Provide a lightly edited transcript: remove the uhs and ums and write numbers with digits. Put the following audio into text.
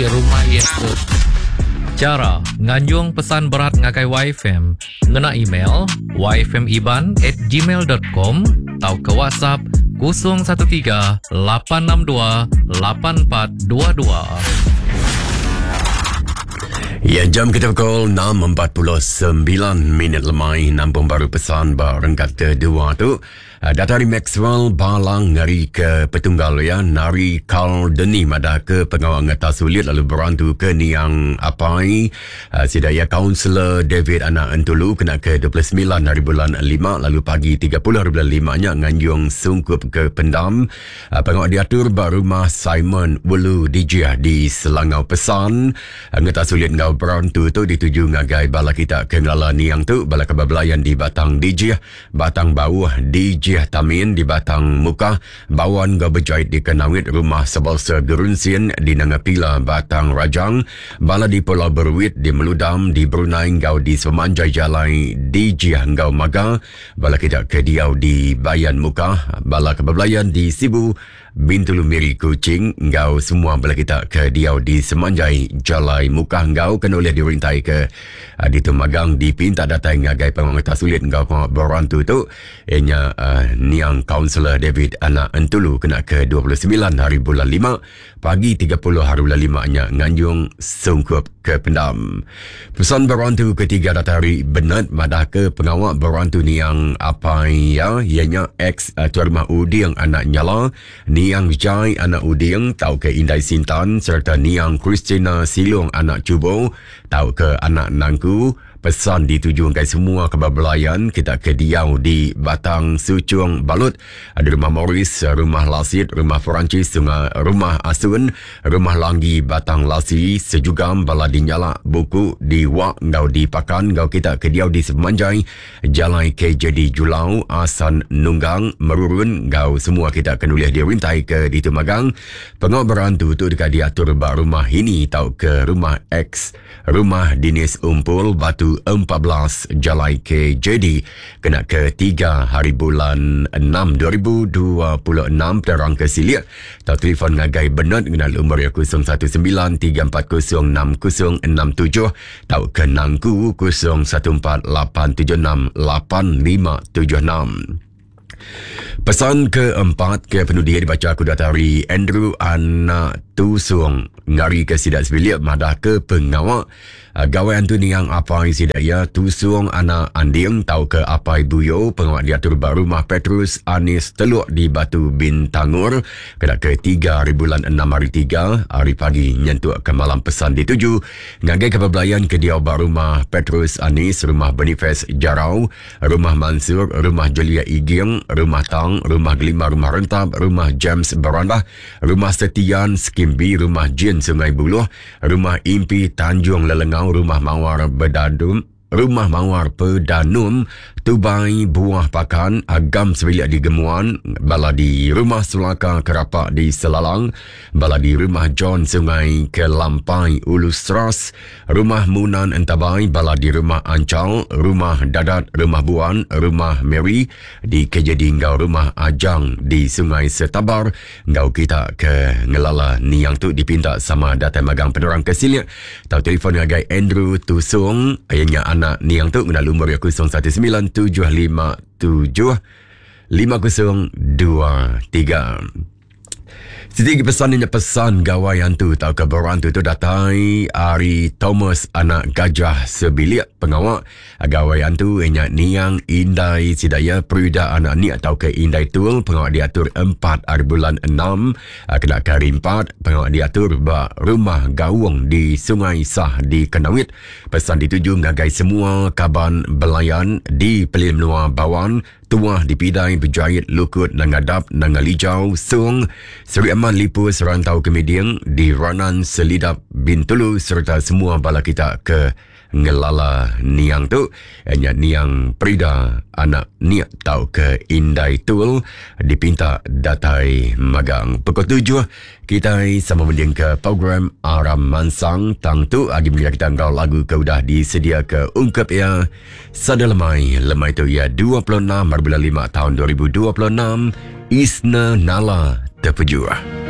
Rumah iya tu. Chara nganjung pesan berat ngagai YFM ngena email yfmiban at gmail dot com tauka WhatsApp 013 862 8422. Ya, jam kita pukul 6.49 minit lemai nampung baru pesan ba renggat kedua tu. Ah, Datai ari Maxwell Balang ngari ke petunggal iya Nari Carl Deni madah ke pengawa ngetas ulit lalu berantu ke niang apai ah, sida iya Kaunselor David Anak Entulu kena ke 29 hari bulan 5 lalu pagi 30 hari bulan 5 nya nganjung sungkup ke pendam ah, pengawa diatur ba rumah Simon Welu Dijih di Selangau Pesan Ngetas ulit enggau berantu tu dituju ngagai bala kita ke ngelala niang tu bala kaban belayan di Batang Dijih Batang Bauh di Jih Tamin di Batang Mukah, Bawan enggau Bejait di Kanowit, Rumah Sebalsa Gerunsin di Nanga Pila, Batang Rajang, bala di Pulau Beruit di Meludam di Brunei enggau di sepemanjai jalai di Jih enggau Maga, bala kita ke diau di Bayan Mukah, bala ke bebelayan di Sibu, Bintulu Miri Kuching enggau semua bala kita ke diau di semanjai jalai Mukah enggau kena ulih dirintai ke uh, ditu magang dipinta datai ngagai pengawa ngetas ulit enggau pengawa berantu tu iya nya uh, niang Kaunselor David Anak Entulu kena ke 29 hari bulan 5 pagi 30 hari bulan 5 nya nganjung sungkup ke pendam. Pesan berantu ketiga datai ari Bernard madah ke pengawa berantu niang apai iya iya nya ex uh, tuan rumah Uding anak Nyala, niang Jai anak Uding tauka Indai Sintan sereta niang Christina Silong anak Chubo tauka anak Nangku. Pesan dituju ngagai semua kaban belayan kita ke diau di Batang Suchung Balut, di Rumah Morris, Rumah Lasit, Rumah Perancis, Sungai Rumah Asun, Rumah Langgi Batang Lasi, Sejugam, Bala di Nyalak, Buku, di Wak enggau di Pakan enggau kita ke diau di sepemanjai Jalai KJD Julau, Asan Nunggang, Merurun enggau semua kita ke nulih dirintai ke ditu magang. Pengawa berantu tu deka diatur ba Rumah Hini tauka Rumah X. Rumah Dinis Umpul Batu 14 Jalai KJD kena ke 3 hari bulan 6 2026 terang ke silik tau telefon ngagai Bernard ngena lumur iya 019 340 6067 tau ke nangku 014 876 8576. Pesan keempat ke penudi dibaca aku datai ari Andrew Anak Tusung ngari ke sida sebilik madah ke pengawa ah, gawai antu niang apai sida iya Tusung Anak Anding tauka Apai Buyo pengawa diatur ba rumah Petrus Anis Teluk di Batu Bintangor kena ke 3 hari bulan 6 hari 3 hari pagi nyentuk ke malam pesan dituju ngagai ke bebelayan ke diau ba rumah Petrus Anis rumah Boniface Jarau Rumah Mansur, Rumah Jelia Iging, Rumah Tang, Rumah Gelima Rumah Rentap, Rumah James Berandah, Rumah Setian Skim B, Rumah Jin Sungai Buluh, Rumah Impi Tanjung Lelengau, Rumah Mawar Bedadum, Rumah Mawar Pedanum, Tubai Buah Pakan, Agam Sebilik di Gemuan, Bala di Rumah Sulaka Kerapak di Selalang, Bala di Rumah John Sungai Kelampai Ulu Seras, Rumah Munan Entabai, bala di Rumah Anchal, Rumah Dadat, Rumah Buan, Rumah Mary di KJD enggau Rumah Ajang di Sungai Setabar enggau kita ke ngelala niang tu dipinta sama datai magang penerang ke silik tau telefon ngagai Andrew Tusong iya nya anak niang tu ngena lumur iya 019 757 5023. Siti agi pesan nya pesan gawai antu tauka berantu tu datai ari Thomas anak Gajah sebilik pengawa gawai antu nya niang indai sida iya Prida anak Nik tauka Indai Tul pengawa diatur empat ari bulan enam kena ke hari empat pengawa diatur ba Rumah Gaung di Sungai Sah di Kanowit. Pesan dituju ngagai semua kaban belayan di Pelilih Menua Bawan Tuah dipidai bejait lukut Nanga Dap, Nanga Lijau, Song, Seri Aman Lipus, Rantau Kemiding, di Ranan Selidap, Bintulu sereta semua bala kita ke ngelala niang tu nya niang Prida anak Niak tauka Indai Tul dipinta datai magang. Pukul tujuh Kitai sama mendingka program Aram Mansang tang tu agi mega kita enggau lagu ke udah disediaka ungkup iya Sada Lemai. Lemai tu iya 26 hari bulan 5 taun 2026 Isna Nala Tepejuh.